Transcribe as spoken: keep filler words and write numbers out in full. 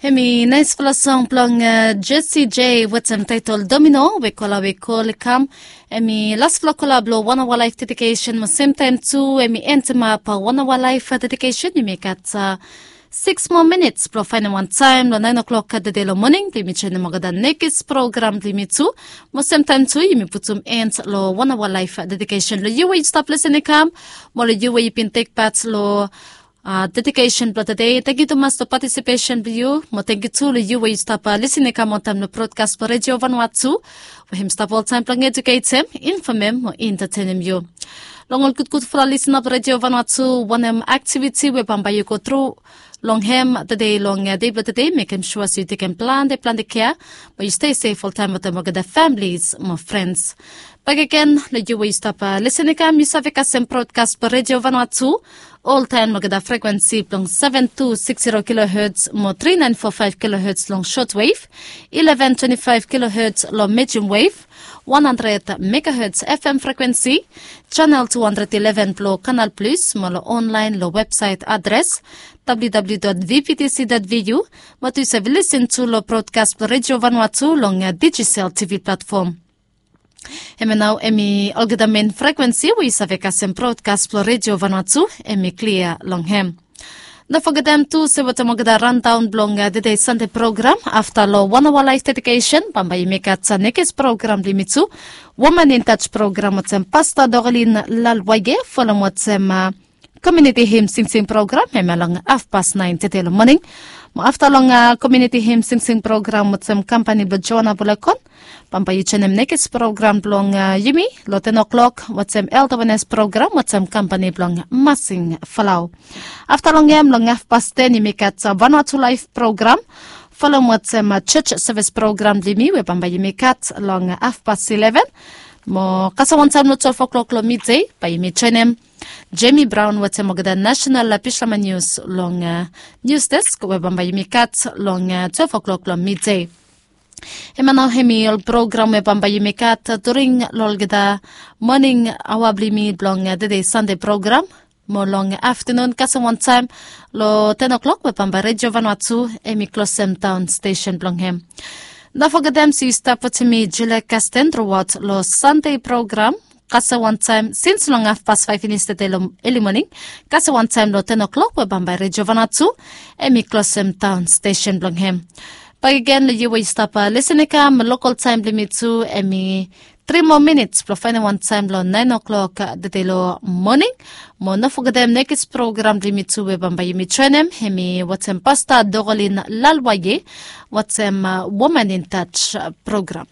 Hemi naispela song blong Jesse J wetem taitol Domino we kola we kol i kam. Hemi laspela kola blong One Hour Life Dedication mo semtaem tu hemi entimap One Hour Life Dedication. Yumi gat six moa minits blong faenem wan taem long naen o'klok tede long moning blong yumi joenem olgeta nekis program blong yumi tu. Mo semtaem tu yumi putum en long One Hour Life Dedication long yu we yu stap lisin i kam, mo long yu we yu bin tek pat long dedikesen blong tede. Tangkiu tumas long patisipesen blong yu, mo tangkiu tu long yu we yu stap lisin i kam wantaem long brodkas blong Redio Vanua tu, we hem stap oltaem blong ejuketem, infomem mo entatenem yu. Long ol gudgudfala lisina blong Redio Vanua tu, wanem aktiviti we bambae yu go tru long hem tede long dei blong tede, mekem sua se yu tekem plante plante kea, mo yu stei sef oltaem wantaem olgeta familis mo frens. Bakegen long yu we yu stap lisin i kam, yu save kasem brodkas blong Redio Vanua tu oltaem long olgeta frekwensi blong seven two six zero kilohertz mo three nine four five kilohertz long shortwave, eleven twenty five kilohertz long medium wave, one hundred megahertz F M frekwensi, channel two hundred eleven blong Kanal Plus, mo long online long websaet adres W W W dot V V T C dot V U, mo tu yu save lisin tu long brodkas blong Redio Vanua tu long Digicel T V platfom. Hemia nao hemi olgeta men frekwensi we yu save kasem brodkas blong Redio Vanua tu hemi klia long hem. No fogetem tu se wetem olgeta randaon blong tede Sande program, afta long One Hour Life Dedication bambae yumi gat nekis program blong yumi tu, Woman in Touch program wetem Pasta Dorlin Lalwaye, folem wetem komiuniti him singsing program, hemia long hafpas naen tede long moning. Mo afta long komiuniti him singsing program wetem kampani blong Joana Bulekon, bambae yu joenem nekis program blong yumi long ten o'klok wetem elda wenes program wetem kampani blong Masing Falau. Afta long hem long hafpas ten yumi gat Vanuatu Laef program, folem wetem jos sevis program blong yumi we bambae yumi gat long hafpas eleven. Mo kasem wantaem long twelve o'klok long midei bae yumi joenem Jemi Braon wetem olgeta nasenal bislama nius long nius desk we bambae yumi gat long twelve o'klok long midei. Hemia nao hemi ol program we bambae yumi gat during long olgeta moning aoa blong yumi blong tede Sande program. Mo long aftenun kasem wantaem long ten o'klok we bambae Redio Vanua tu hemi klosem daon stesen blong hem. No fogetem se yu stap wetem mi Julia Kasten truaot long Sande program kasem wantaem sins long hafpas faef finis tede long eli moning kasem wantaem long ten o'klok we bambae Redio Vanua tu hemi klosem daon stesen blong hem. Bakegen long yu we yu stap lisin i kam, lokol taem blong yumi tu hemi tri moa minits blong faenem wantaem long naen o'klok tede long moning. Mo no fogetem nekis program blong yumi tu we bambae yumi joenem hemi wetem Pasta Dorlin Lalwaye wetem Woman in Touch program.